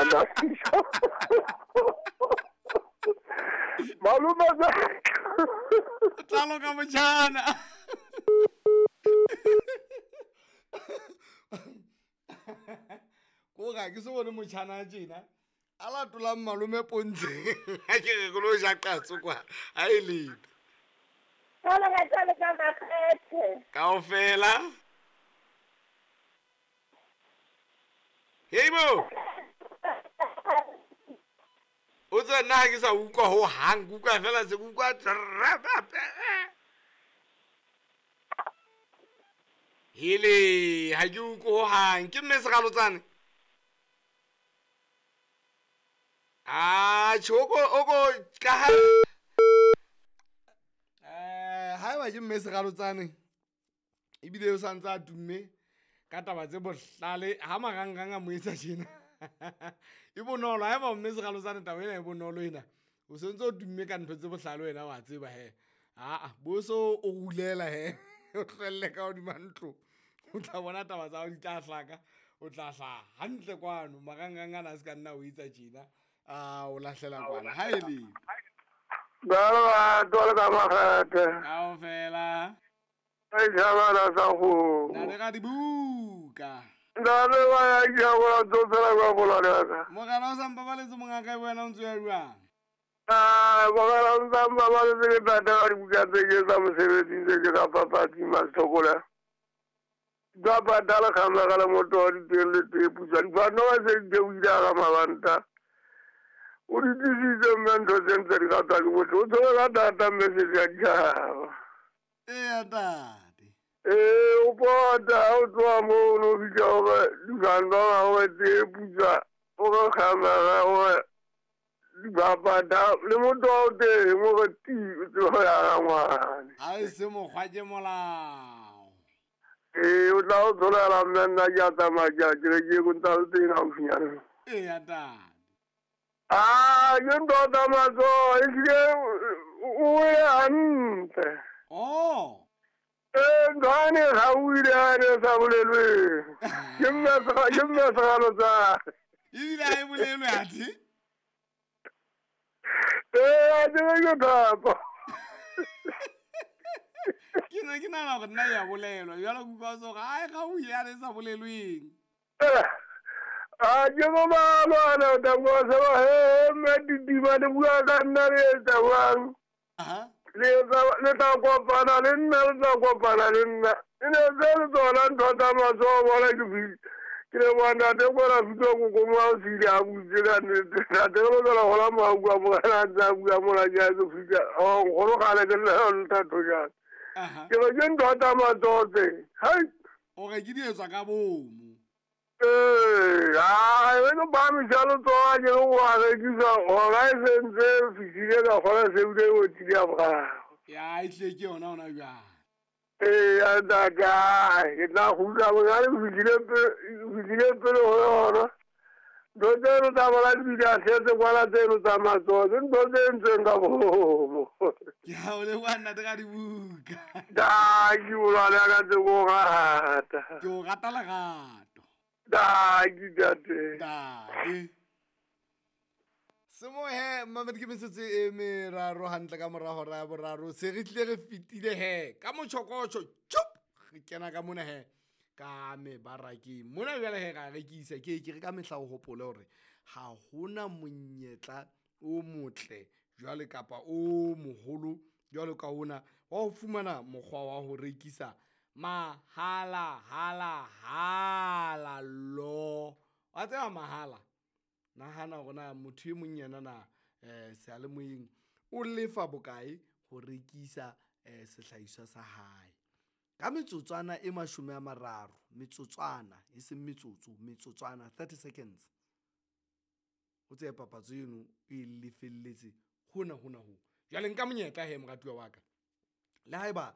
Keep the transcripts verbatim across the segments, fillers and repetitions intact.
ngwana. Malome tla loka motjhana. Ko ga ke se bone motjhana tjena a latolang malome pontsheng. Ha ke re ke lo ja qatso kwa ha e letho. Kaofela. Hey bo. O tswa nna ha ke sa utlwa ho hang, ke utlwa fela se ke utlwa. Hele, ha ke utlwe ho hang. Ke mme Segalotsane. Ah, tjho o ko ka ha eh haeba ke mme Segalotsane ebile o santse a tumme ka taba tse bohlale ha marangrang a mo etsa tjena. E bonolo haeba mme Segalotsane taba ena e bonolo ena. O sentse o tumme ka ntho tse bohlale wena wa tseba he. Ah, bo so o rulela he. O tlohelle ka hodima ntlo. O tla bona taba tsa hao di tla hlaka, o tla hlaha hantle kwano marangrang ana a se ka nna o etsa tjena. Ah, o lahlela kwana ha e le. Ba ba ka makgethe. Kaofela. Ai jabala sa go. Na le ga dibuka. Nna le ba ya ke a bona tsotsela kwa bolwane ka. Mogala o sa mpabaletse mongaka e wena o ntse o ya jwang? Ah, mogala o sa mpabaletse ke tata ka dibuka tse ke tsa mosebetsi tse ke tsa papadi Masokola. Ba patala khamela ka le motho wa diteng le tee putswa. Dibano ba se di o ile ga mabanta. O di tlisitse mme ntho tse ntse di ratwa ke motho. O tshwere ka thata mme se di a ditjhaba. Eya ntate. Ee, o pota o tloha moo o no fihla hore dibano hore tee putswa o re khamela hore dibapata le motho wa o teng o re ti o tsebe ho ya ga ngwane. Ha e se mokgwa ke molao. Ee, o tla o tsholela mme nna ke a tsamaya ke a kerekeng o ntsa le teng haufinyana. Eya ntate. Ah, ke ntho tsa matsoho ehlile o wele hantle. Oh. Ee, ntho ane ga o ile ane sa bolelweng. Ke mme ke mme Segalotsane. Ebile ha e bolelwe athe? Ee, a tsebe ke thapo. Ke ne ke nahana hore nna ya bolelwa jwale ke utlwa so ai ga o ile ane sa bolelweng. A ke mo malwana o tla bua se ba he mme ditima le bua ka nna le etsa jwang. Aha. Le le tla kopana le nna le tla kopana le nna. E ne tse le tsona ntho tsa matsoho bona ke ke le bona ntate kwana fihla ko ko mo o se ile a butse ka nnete. Ntate re lokela ho la mo a bua morena a ntse a bua mona ke a tlo fihla. Oh, nkgono kgale ke le thato jang. Aha. Ke re ke ntho tsa matsoho tse. Hai. O re ke di etswa ka bomo. Ee, ah, e no ba mi jalo tsoa ke go a rekisa hora e sentse fihlile ka kgona se bile o tlile a boraro. Ya e tle ke yona hona jwang. Ee, a ntate, ke tla kgutla bonyane ke fihlile fihlile pele ho yona. Ntho tseno tsa bona di bile a setse kwana tseno tsa matsoho ke ntho tse entsweng ka bomo. Ke a o leboha ntate ka dibuka. Dankie molwane wa ka tse ko rata. Ke o rata lerato. Dankie ntate. Ntate. Semohe mmamedi ke metsotso e meraro hantle ka mora hora ya boraro se re tlile re fetile he ka motjhokotjho tjhup re kena ka mona he ka mebarakeng mona jwale he ra rekisa ke ke re ka mehla o hopole hore ha hona monyetla o motle jwale kapa o moholo jwalo ka ona wa ho fumana mokgwa wa ho rekisa mahala hala hala lo wa tseba mahala. Nahana hore na motho e mong yena na eh seyalemoyeng o lefa bokae ho rekisa eh sehlahiswa sa hae ka metsotswana e mashome a mararo metsotswana e seng metsotso metsotswana thirty seconds o tseye papatso eno e lefelletse hona hona ho jwale nka monyetla he moratuwa wa ka le haeba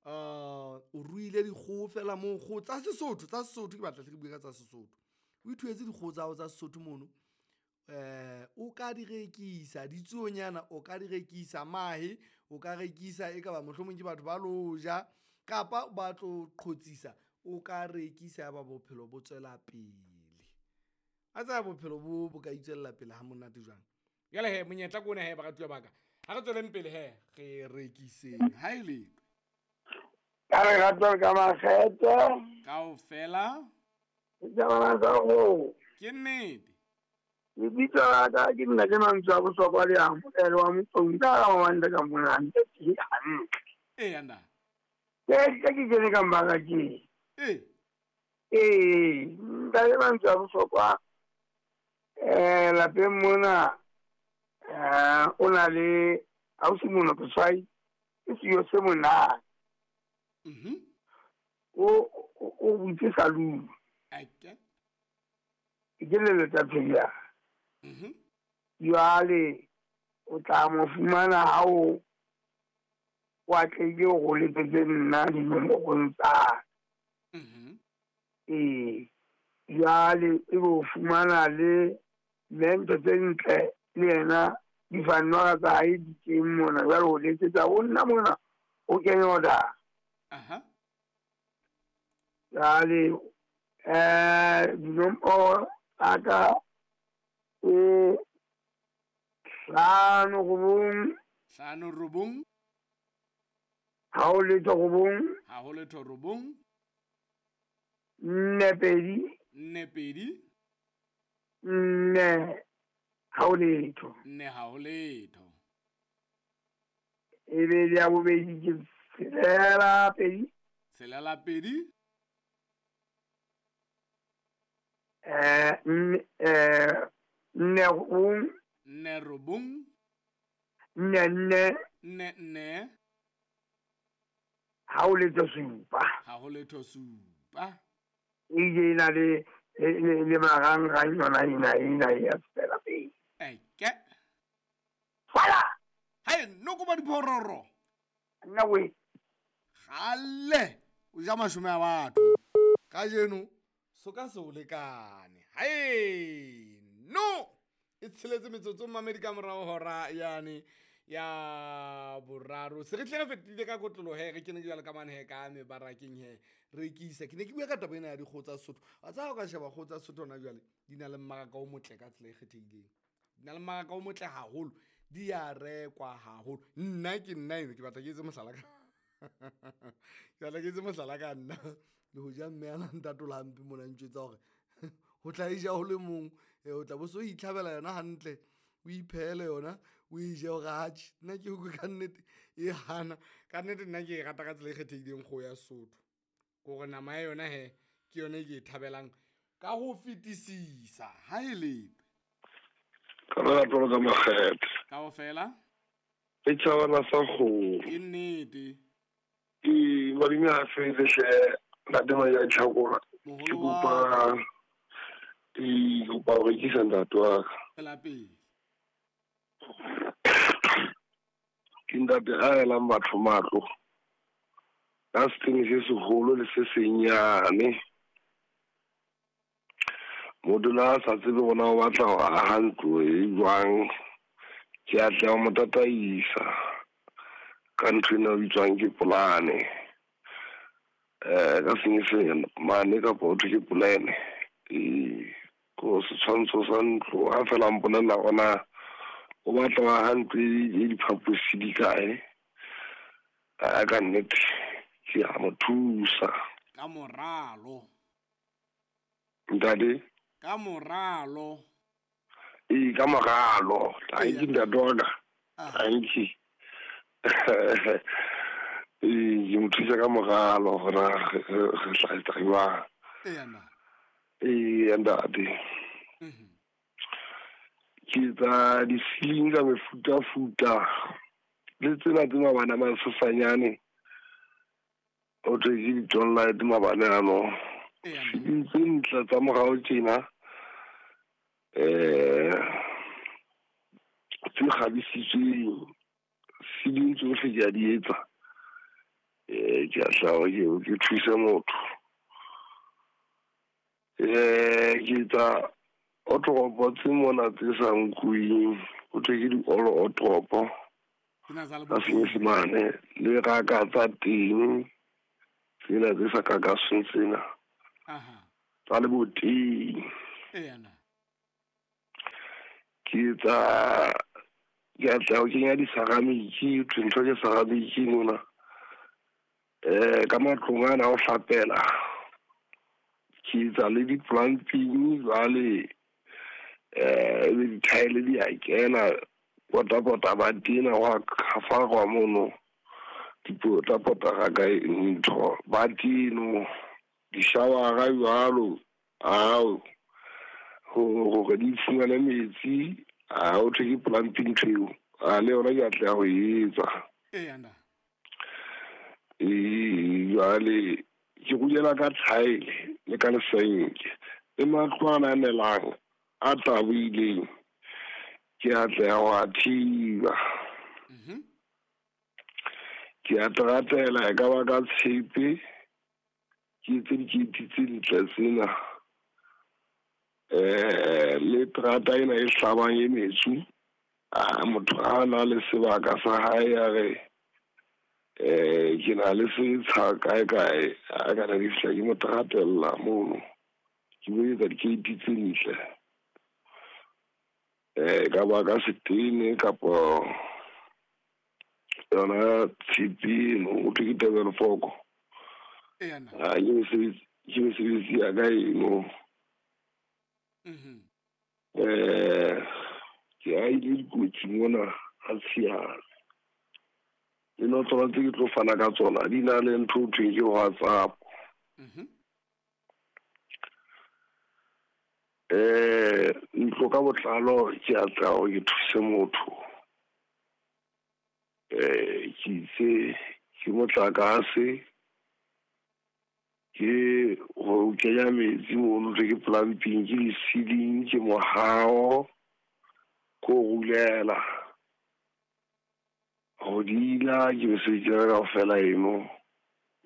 uh o ruile dikgoho fela moo kgoho tsa Sesotho tsa Sesotho ke batla hle ke bue ka tsa Sesotho o ithuetse dikgoho tsa hao tsa Sesotho mono eh o ka di rekisa ditsuonyana o ka di rekisa mahe o ka rekisa e ka ba mohlomong ke batho ba lo ja kapa ba tlo qhotsisa o ka rekisa ya ba bophelo bo tswela pele. A tsaya bophelo bo bo ka itswella pele ha monate jwang. Jwale he monyetla ke ona he baratuwa ba ka. Ha re tsweleng pele he re rekiseng. Ha e letho. Ka re ratwa ka makgethe. Kaofela. Setjhabana sa ho. Ke nnete. Lebitso la ka ke nna ke mantswe a bohlokwa le a moelo wa Motlong ka ga mawanda ka mona hantle ke hantle. Eya nna. Ke ke ke kene ka mmarakeng. Ee. Ee, ntate mantswe a bohlokwa eh lapeng mona eh o na le ausi Monokotshwai ke sejo se monate. Mhm. O o butse saloon. Ake. Ke leletsa phela. Mhm. Jwale o tla mo fumana ha o o atlehile ho letsetse nna dinomorong tsa. Mhm. Ee. Jwale e bo fumana le ntho tse ntle le yena difanwa tsa hae di teng mona. Jwale o letsetsa ho nna mona o kenye order. Aha. Jwale eh dinomoro tsa ka e hlano robong. Hlano robong. Ha ho letho robong. Ha ho letho robong. Nne pedi. Nne pedi. Nne ha ho letho. Nne ha ho letho. E be ya bobedi ke tshelela pedi. Tshelela pedi. Eh eh nne robong. Nne robong. Nne nne. Nne nne. Ha ho letho supa. Ha ho letho supa. E je na le le le marangrang yona ena ena ya tswela pele. Eke. Fala. Hai noko ba diphororo. Nna we. Kgale o ja mashome a batho. Kajeno so ka se o lekane. Hai no. E tsheletse metsotso mamedi ka morao hora yane ya boraro. Se re tle re fetile ka kotlolo he re kene jwalo ka mane he ka mebarakeng he rekisa. Ke ne ke bua ka taba ena ya dikgoho tsa Sesotho. Wa tseba ha o ka sheba kgoho tsa Sesotho hona jwale di na le mmaraka o motle ka tsela e kgethehileng. Di na le mmaraka o motle haholo. Di a rekwa haholo. Nna ke nna eno ke batla ke etse mohlala ka. Ke batla ke etse mohlala ka nna. Le ho ja mme a na ntatola hampe mona ntjwetsa hore ho tla e ja ho le mong, o tla bo so itlhabela yona hantle, o iphehele yona, o e je hore atjhe. Nna ke utlwe ka nnete e hana. Ka nnete nna ke e rata ka tsela e kgethehileng kgoho ya Sesotho. Kore nama ya yona he ke yona e ke e thabelang ka ho fetisisa. Ha e letho. Ka lerato ka makgethe. Kaofela. Setjhabana sa kgomo. Ke nnete. Ee, malome a fele hle ntate Maja Tjhakola. Ke kopa ee, kopa ho rekisa ntate wa ka. Tswela pele. Ke ntate a elang batho matlo. Ka setene se seholo le se senyane. Motho le ha a sa tsebe hore na o batla ho aha ntlo e jwang. Ke a tla mo tataisa ka ntho ena e bitswang ke polane. Eh ka senyesemane kapa ho thwe ke polane. Ee, ko setshwantsho sa ntlo ha feela a mpolella hore na o batla ho aha ntlo e diphaposi di kae. A ka nnete ke a mo thusa. Ka moralo. Ntate? Ka moralo. Ee, ka moralo. Thank you ntate wa ka. Thank you. Ee, ke mo thusa ka moralo hore na re tla etsa jwang. Eya na. Ee, ntate. Mhm. Ke etsa di-ceiling ka mefutafuta. Le tsena tse mabane a masesanyane. Ho thwe ke di-downlight mabane ano. Eya. Ceiling tse ntle tsa morao tjena. Eh tse kgabisitsweng. Ceiling tsohle ke a di etsa. Eh ke a hlaha ke ke thuse motho. Eh ke etsa otoropo tse mona tse sa nkuweng. Ho thwe ke di-all otoropo. Tsena tsa Ka senyesemane le raka tsa teng. Tsena tse sa kakasweng tsena. Aha. Tsa leboteng. Eya na. Ke etsa ke atleha ho kenya di-ceramic, ntho ke ceramic mona. Eh ka matlong ana ho hlapela. Ke etsa le di-plumbing jwale eh ebe di-tile di a kena pota-pota ba tena wa khafarwa mono. Dipota-pota ga ka ntho ba teno di-shower-a jwalo ao hore di fumane metsi a ho thwe ke plumbing ntho eo a le yona ke atleha ho etsa. Ee jwale ke rulela ka tile le ka lesenke le matlo ana a nelang a tabohileng ke atleha ho a thiba. Ke a teratela e ka ba ka tshepe ke etse dikeiti tse ntle tsena. Eh le terata ena e hlabang e metsu a motho a na le sebaka sa hae a re eh ke na le setsha kae kae a ka na di fihla ke mo teratella mono ke bo etsa dikeiti tse ntle. Eh ka ba ka setene kapo yona tshepe eno ho thwe ke tebelo foko. Ah ke mesebetsi ke mesebetsi ya ka eno. Eh ke a ile dikotsi mona ha tshiana. Le notlolo tse ke tlo fana ka tsona di na le ntho ho thweng ke WhatsApp. Eh ntlo ka botlalo ke atleha hore ke thuse motho. Eh ke itse ke motlakase ke ho kenya metsi mono ke plumbing ke di-ceiling ke mohao ko rulela ho dila ke mesebetsi ya ka kaofela eno.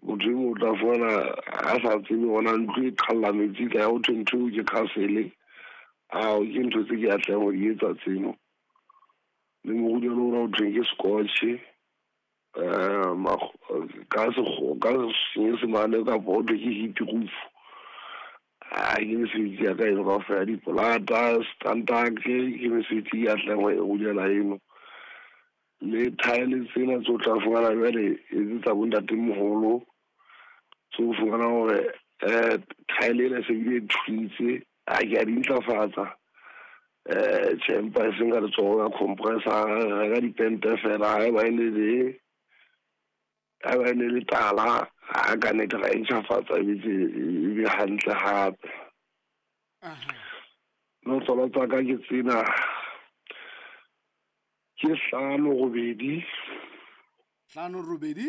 Motho e mong o tla fumana a sa tsebe hona ntlo e qhalla metsi ka ya ho thwe ntho eo ke castle. Ao ke ntho tse ke atlehang ho di etsa tseno. Le morulelo ona ho thweng ke scotch eh ka sekgo ka senyesemane kapa ho thwe ke heat roof. Ah ke mesebetsi ya ka eno kaofela dipolata standard ke mesebetsi e atlehang ho e rulela eno. Le tile tsena tse o tla fumana jwale e tsa bo ntatemoholo tse o fumana hore eh tile ena se bile thuntse a ke a di ntlafatsa. Eh tjhe empa e seng ka letsoho ya compressor re ka dipente fela ha eba e ne le ha eba e ne le tala ha ka nnete ra e ntjhafatsa e be hantle hape. Notlolo tsa ka ke tsena ke hlano robedi hlano robedi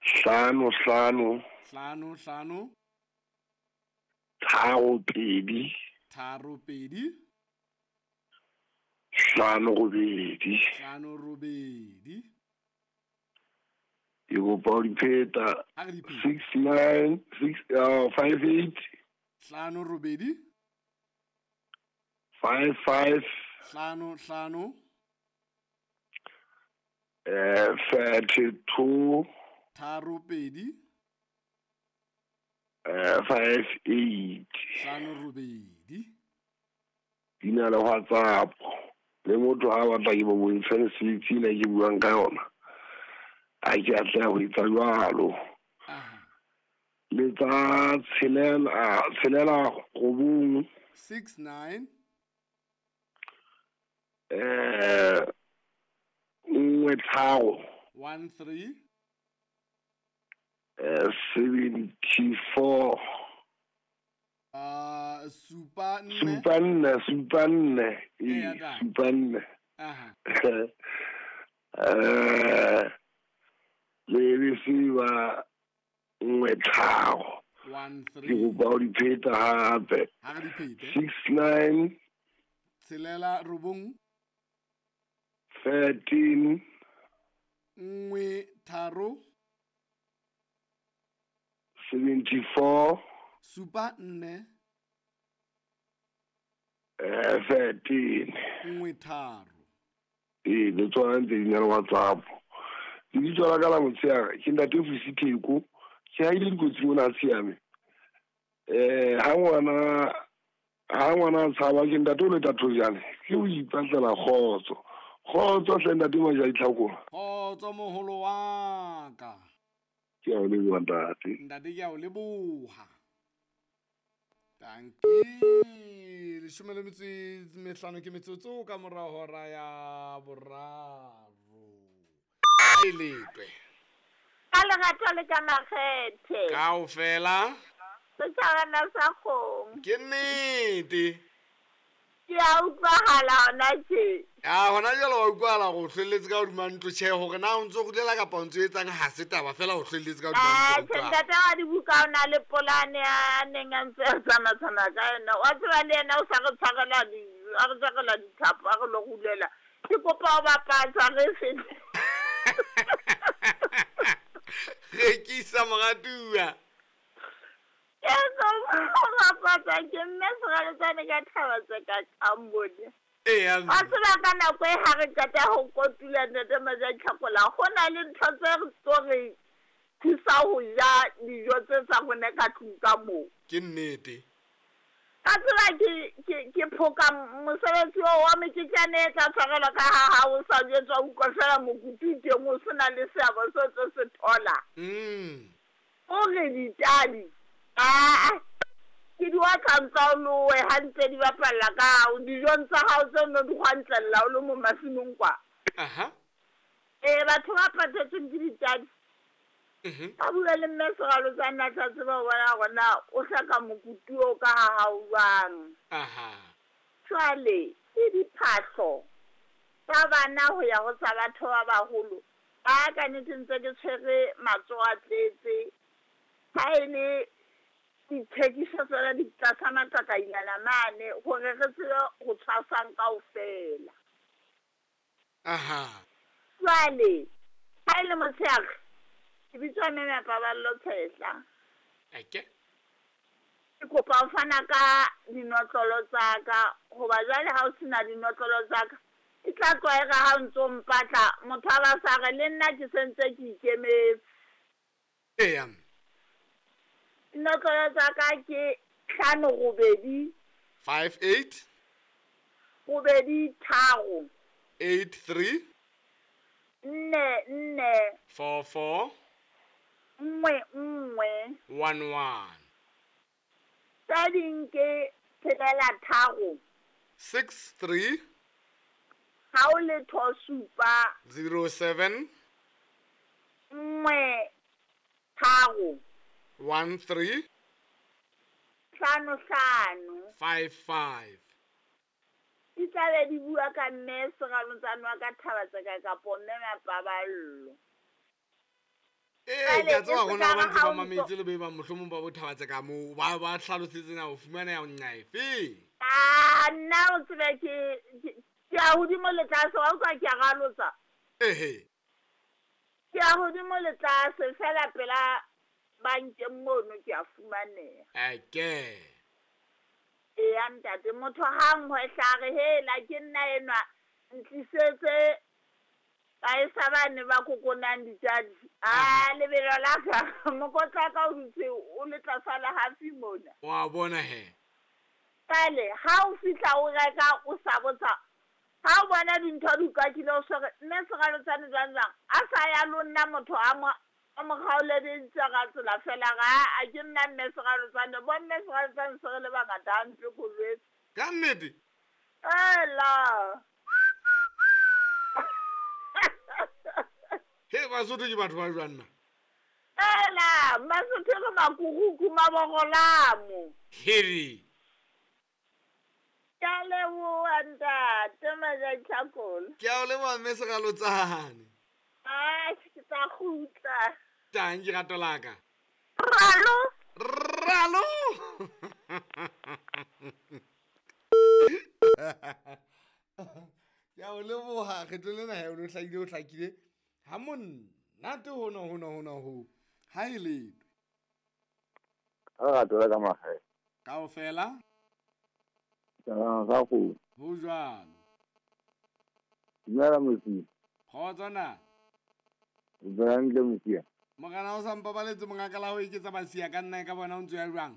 hlano hlano hlano hlano tharo pedi tharo pedi hlano robedi hlano robedi. Ke kopa ho di pheta six nine six uh, five eight hlano robedi five five hlano hlano eh thirty two tharo pedi eh five eight hlano robedi. Di na le WhatsApp le motho ha batla ke bo bontshe mesebetsi ena ke buang ka yona a ke atleha ho etsa jwalo. Le tsa tshelela tshelela robong six nine eh nngwe tharo one three eh seventy four uh supa nne supa nne supa nne supa nne. Aha eh le besiba nngwe tharo one three ke kopa ho di pheta hape ha re di phete six nine tshelela robong thirteen nngwe tharo seventy four supa nne eh thirteen nngwe tharo. Ee le tsona ntse di na le WhatsApp. Lebitso la ka la motshehare ke ntate Vusi Theko ke haile dikotsi mona a tshiame. Eh ha ngwana Ha ngwana a tshaba ke ntate o leta thojane ke o ipatlela kgotso. Kgotso hle ntate Majaditlhakola. Kgotso moholo wa ka. Ke a o leboha ntate. Ntate ke a o leboha. Dankie. Leshome le metso e mehlano ke metsotso ka mora hora ya boraro. E letwe. Ka lerato le ka makgethe. Kaofela. Setjhabana sa kgomo. Ke nnete. Ke a utlwahala hona tje. Ya hona jwale wa utlwahala hore o hlwelletse ka hodima ntlo. Tjhe, hore na o ntso kgutlela kapa o ntso etsang ha se taba, fela o hlwelletse ka hodima Ah, ntlo. tjhe, ntate wa dibuka o na le polane a neng a ntse a tsamaya-tsamaya ka yona. Wa tseba le yena o sa re tshwarela di-, a re tshwarela dithapo, a re lo rulela. Ke kopa ho bapatsa re fete. Rekisa moratuwa. Ke kopa ho bapatsa ke mme Seraletsane ka thaba tse ka kambone. Eya, Wa tseba ka nako e ha re qeta ho kotula ntate Majaditlhakola, ho na le ntho tse re tlo re thusa ho ja dijo tse tsa rona ka tlung ka moo. Ke nnete. Ka tseba ke, ke, ke phoka mosebetsi oo wa meketjane e tla tshwarelwa ka ha ha o sa jwetswa, o utlwa fela mokutu teng o sena le seabo seo tlo se thola. Mm. O re ditadi, aa, ke di otla ntsa o lowe ha ntse di bapalla ka hao, dijong tsa hao tse no di kgwantlella o le mo masimong kwa. Aha. Ee, batho ba patetsweng ke ditadi. Mhm. Ba bua le mme Seraletsane a tla tseba ho bona hore na o hloka mokutu oo ka ha hao jwang. Aha. Jwale ke diphahlo tsa bana ho ya ho tsa batho ba baholo. Ba ka nnete ntse ke tshwere matsoho a tletse. Ha e le dithekiso tsona di tlasa matlakailana mane hore re tsebe ho tshwasang kaofela. Aha. Jwale ha e le motshehare, ke bitswa mme Paballo Tshehla. Eke. Ke kopa ho fana ka dinotlolo tsa ka, hoba jwale ha o sena dinotlolo tsa ka, e tla tlwaega ha o ntso mpatla, motho a ba sa re le nna ke sentse ke ikemetse. Eya. Dinotlolo tsa ka ke hlano robedi. Five eight. Robedi tharo. Eight three. Nne nne. Four four. Nngwe nngwe. One one. Tse ding ke tshelela tharo. Six three. Ha o letho supa. Zero seven. Nngwe tharo. One three. Hlano hlano. Five five. Di tla be di bua ka mme Seraletsane wa ka thaba tse ka kapo mme Mapaballo. Ee, Jwale ke a tseba e hore na se ba ka ntse ha ba o ntso mametse le be ba mohlomong ba bo thaba tse ka moo, ba ba hlalosetse na o fumaneha nqa efe. Ah, nna o tsebe ke, ke, ke ya hodimo le tlase, wa utlwa ke a ralotsa. Ehe. Ke ya hodimo le tlase, fela pela bankeng mono ke a fumaneha. Eke. Eya ntate, motho ha nngwe hlare, hela ke nna enwa, ntlisetse ba e sa bane ba kokonang ditjadi. Ah, lebelo la ka, mokotla wa ka o dutse o le tlasa le hafi mona. Wa bona he. Jwale, ha o fihla o reka o sa botsa, ha o bona dintho di ukakile o so re, mme Seraletsane jwang jwang, a sa ya lo nna motho a mo, a mo kgaoleditse ka tsela fela, ga a ke nna mme Seraletsane, bo mme Seraletsane se re le bangata hampe kolwetse. Ka nnete? Ela. He, Basotho ke batho ba jwang na? Ela, Basotho ke makukuku mabogolamo. Heri. Ke a leboha ntate Majaditlhakola. Ke a o leboha mme Seraletsane. Ah, ke tla kgutla. Tang ke rato la ka. Ralo. Ralo. Ke a o leboha kgetlo lena he o no hlakile, o hlakile. Ha monate hona, hona, hona ho. Ha e letho. Ha rato la ka makgethe. Kaofela. Tjhabana sa kgomo. Ho jwalo. Dumela Mosia. Kgotso na. O tswa hantle Mosia. Morena o sa mpabaletse mongaka la ho eketsa basia ka nna e ka bona o ntso ya jwang?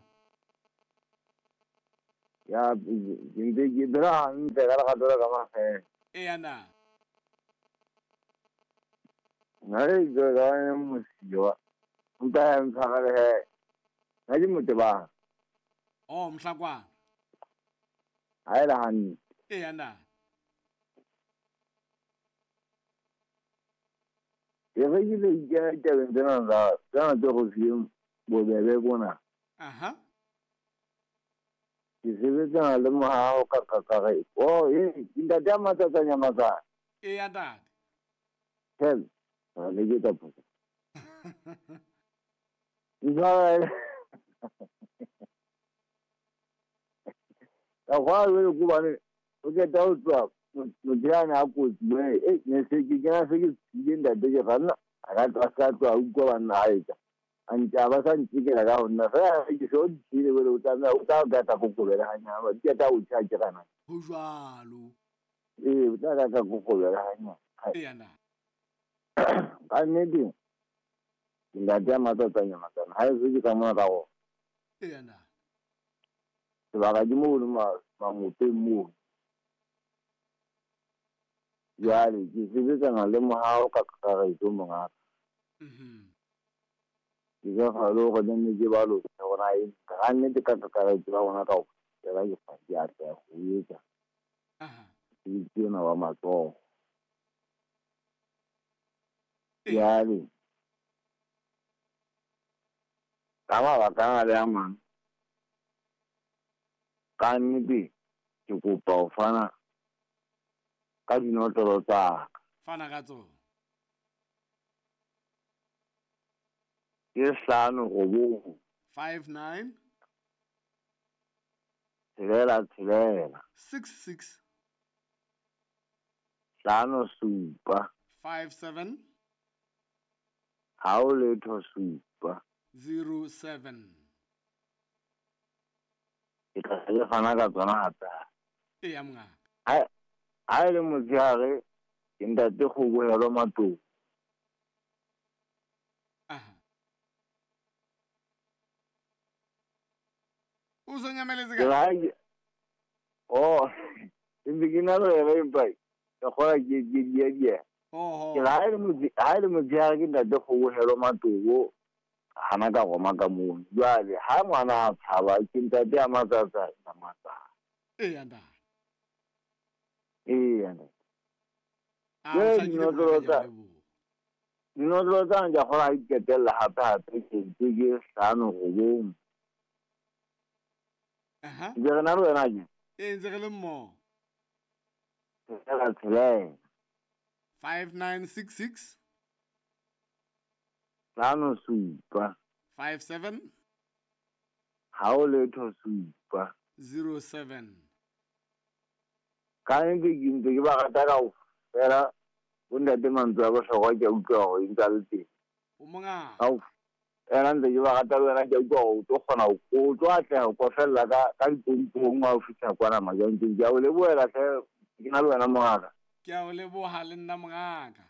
Ya ke ntse ke phela hantle ka lerato la ka makgethe. Eya na. Nna le lebitso la ka Mosiwa. Empa ya ntshwarele he. Nna ke Motebang. Oh, Mohlakwana. Ha e le hantle. Eya na. Ke re ke le ikena ditabeng tsena tsa tsena tse go fileng bobebe bona. Aha. Ke sebetsana le mohaho ka kakaretso. Oh, e ntate a matsatsa nyamatsana. Eya ntate. Hel, le ke tsa phoso. Ntshwarele. Ka gwa le go bane o ke ta o tswa motho yane a kotsi e ne se ke kena se ke tsile ntate ke ganna a ka tla sa tswa utlwa banna a etsa a ntse a ba sa ntsekela ka go nna fela ke se o ditshile bele o tsamaya o tla ka tla kokobela ganyana ke tla o tšha ke gana ho jwalo ee o tla ka tla kokobela ganyana eya na ka nnete ntate a matsatsa nyamatsana ha e se ke ka mona ka go eya na sebaka ke mo le mangopeng moo. Jwale ke sebetsana le mohaho ka kakaretso mongaka. Ke ka fa le hore nne ke ba lona hore na e ka nnete ka kakaretso ba rona kaofela ke fa ke atleha ho etsa. Mosebetsi ona wa matsoho. Jwale ka mabaka ana le a mang ka nnete ke kopa ho fana ka dinotlolo tsa ka. Fana ka tsona. Ke hlano robong. Five nine. Tshelela tshelela. Six six. Hlano supa. Five seven. Hao letho supa. Zero seven. Ke tla ke fana ka tsona hape. Eya mongaka. Ha ha e le motshehare ke ntate Kgobohelo Matlou. Aha. O so nyameletse ka? Oh, ntse ke na le yena empa ke kgola ke ke dia dia. Oho. Ke ha e le ha e le motshehare ke ntate Kgobohelo Matlou hana ka roma ka mono. Jwale ha ngwana a tshaba ke ntate a matsatsa matsatsa. Eya ntate. Eya ntate. Ah, o hlakile mongaka, ke a leboha. Dinotlolo tsa ka kgona ho iketella hape hape ke ntse ke hlano robong. Aha. Ke re na le wena ke? Ee, ntse re le mmoho. Tshelela tshelela. Five nine six six. Hlano supa. Five seven. Hao letho supa. Zero seven. Ka nnete ke ntse ke ba rata kaofela. Bo ntate mantswe a bohlokwa ke a utlwa hore ntse a le teng. O mongaka. Kaofela ntse ke ba rata le wena ke a utlwa hore o tlo kgona o tlo atleha ho kofella ka ka dipompong ha o fihla kwana Majanteng. Ke a o lebohela hle ke na le wena mongaka. Ke a o leboha le nna mongaka.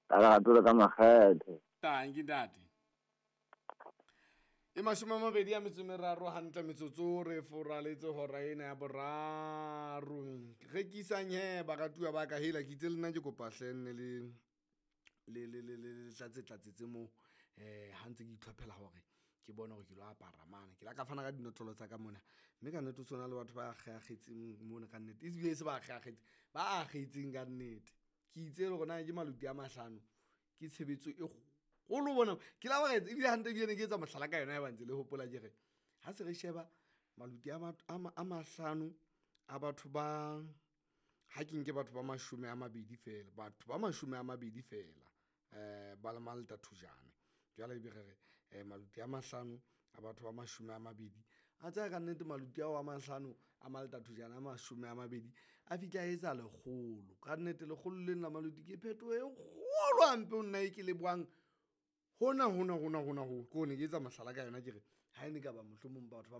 Ka lerato le ka makgethe. Tanki ntate. E mashome a mabedi a metso e meraro hantle metsotso re foraletse hora ena ya boraro. Rekisang he baratuwa ba ka hela ke itse le nna ke kopa hle nne le le le le le tlatse tlatsetse moo eh ha ntse ke itlhophela hore ke bone hore ke lo apara mane. Ke la ka fana ka dinotlolo tsa ka mona mme ka nnete o tshwana le batho ba akgeakgetseng mona ka nnete. Ebile e se ba akgeakgetseng, ba akgetseng ka nnete. Ke itse le hore na ke maluti a mahlano ke tshebetso e kgolo bona. Ke la ba ebile hantle ebile ne ke etsa mohlala ka yona ya ba ntse le hopola ke re ha se re sheba maluti a a mahlano a batho ba ha ke nke batho ba mashome a mabedi fela, batho ba mashome a mabedi fela eh ba le Malta Thujane. Jwale ebe re re maluti a mahlano a batho ba mashome a mabedi a tsaya ka nnete maluti ao a mahlano a Malta Thujane a mashome a mabedi a fihla a etsa lekgolo. Ka nnete lekgolo lena la maluti ke phetoho e kgolo hampe ho nna e ke lebohang hona hona hona hona ho ke ne ke etsa mohlala ka yona ke re ha e ne ka ba mohlomong batho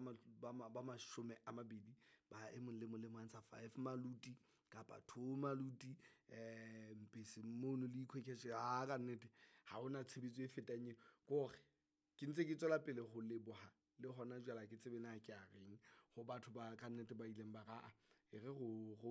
ba ba mashome a mabedi ba e mong le mong le mong a ntsha five maluti kapa two maluti eh mpese mono le ikhwekeshe ha ka nnete ha hona tshebetso e fetang eo. Ke hore ke ntse ke tswela pele ho leboha le hona jwale ha ke tsebe na ke a reng Go batho ba ka nnete ba ileng ba ga e re go go